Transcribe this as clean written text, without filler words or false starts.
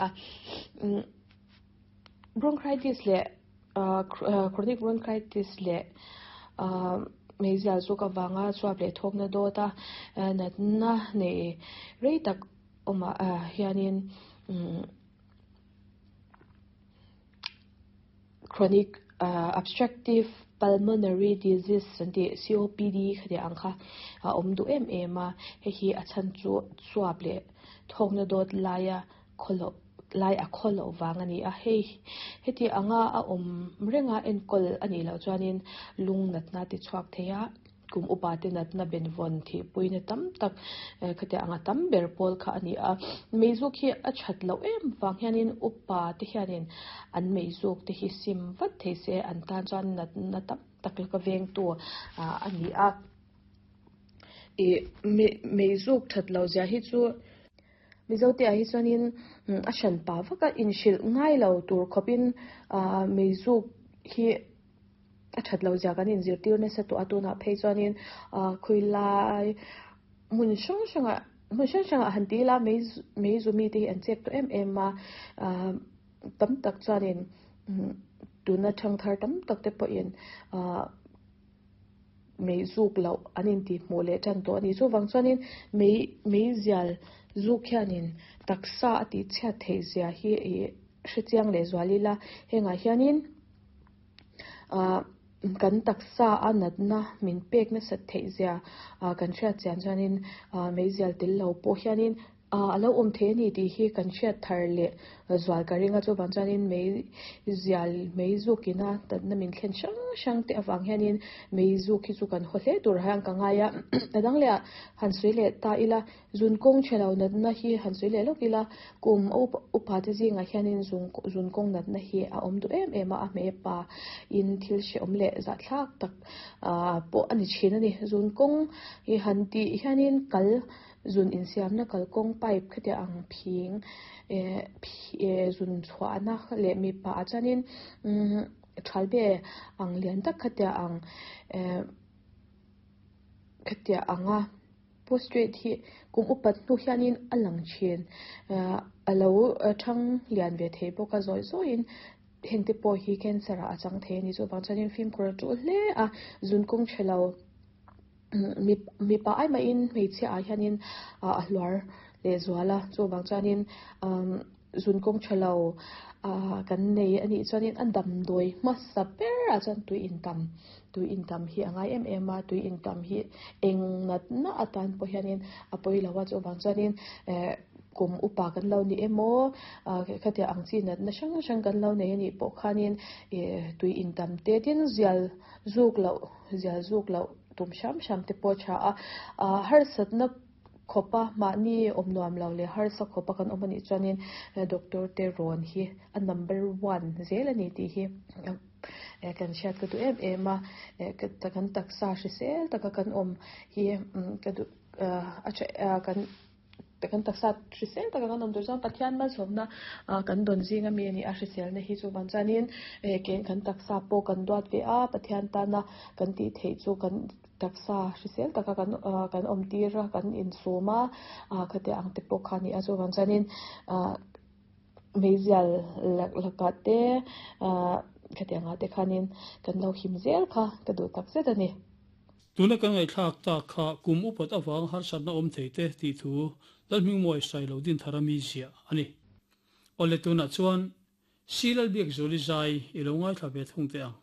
a. Bronchitis leh chronic bronchitis leh meizial zuk avanga chuap leh thawkna dawt a natna nei rei tak awmah hianin Chronic obstructive pulmonary disease an tih COPD khatiang ang kha a awm duh em em a, hei hi a chhan chu chuap leh thawkna dawt laia khawloh lai a khawloh vang a ni a, hei heti anga a awm renga enkawl a nih loh chuanin lung natna ti chhuak thei a. Kum upa te natna benvawn thihpuina tam tak khatiang anga tam ber pawl kha a ni a. Meizuk hi a that loh em vang hianin upa te hianin an meizuk te hi sim vat thei se an tan chuan natna tam tak laka vengtu a ni a. Ih meizuk that loh zia hi chu Mizote ah hi chuanin a hran pa vak a inhrilh ngai lo tur khawpin meizuk hi a that loh zia kan inzirtir nasa tawh a tunah phei chuanin ah khawilai hmun hrang hrangah hmun hrang hrangah han ti ila mei mei zu mite hi an chep tawh em em a ah tam tak chuanin tuna thangthar tam tak te pawhin ah mei zuk loh an intih hmuh leh tan tawh a ni chuvang chuanin mei mei zial zuk hianin taksa a tih chhiat theih zia hi ih hrechiang leh zual ila hengah hianin. Ahh kan taksa a natna min pek nasat theih zia ah kan hriat chian chuanin ah meizial tel lo pawh hianin ah a lo awm thei a ni tih hi kan hriat thar leh zual ka ring a chuvang chuanin meizial mei zukina natna min thlen hrang hrang te avang hianin mei zuk hi chu kan haw hle tur hian ka ngai a a dang leh ah han sawi leh ta ila. Zun kawng chhe lo natna hi han sawi leh lawk ila, kum a upa te zingah hianin zun kawng natna hi a awm duh em em a, a hmeipa in thil hrehawm leh zahthlak tak pawh a ni thin a ni. Zun kawng hi han tih hianin kal zun insiamna kalkawng pipe khatiang ang phing zun chhuahna leh mipa ah chuanin thalbe ang lian tak khatiang ang khatiang anga. Postrate hi kum upat hnu hianin a lang thin. A lo thang lian ve thei bawk a, zawi zawiin heng te pawh hi cancer ah a chang thei a ni. Chuvang chuanin fimkhur a tul hle a, zun kawng tha lo mipa ai mahin hmeichhia ah hianin a hluar leh zual a, chuvang chuanin Zun kawng tha lo kan nei a nih chuanin a damdawi hmasa berah chuan tui intam tui intam hi a ngai em em a tui intam hi eng natna atan pawh hianin a pawi lo a chuvang chuanin eh kum upa kan lo ni emaw ah khatiang ang chi natna hrang hrang kan lo nei a nih pawh khanin ih tui intam te tin zial zuk loh zial zuk loh tum hram hram te pawh a tha a ah harsatna. Khawpa mahni awm nuam lo leh harsa khawpa kan awm anih chuanin doctor te rawn hi a number one zel a ni tih hi kan hriat ka duh em em a, kan taksa hrisel taka kan awm hi ka duh a tha kan kan taksa hrisel taka kan awm tur chuan Pathian malsawmna kan dawn zing ami a ni a hriselna hi chuvang chuanin kan taksa pawh kan duat ve a Pathian tana kan tih theih chu kan. Taksa hrisel taka kan kan awm tir a, kan insum a, khatiang ang te pawh kha a ni a, chuvang chuanin meizial lakah te khatiang ah te khanin kan lo him zel kha ka duh tak zet a ni. Tuna kan ngaihthlak tak kha kum upat avang harsatna awm thei te tih thu Lalhmingmuai Sailo Dinthara mi ziah a ni. Awle tunah chuan Silalbiakzuli zai i lo ngaithla ve thung teh ang.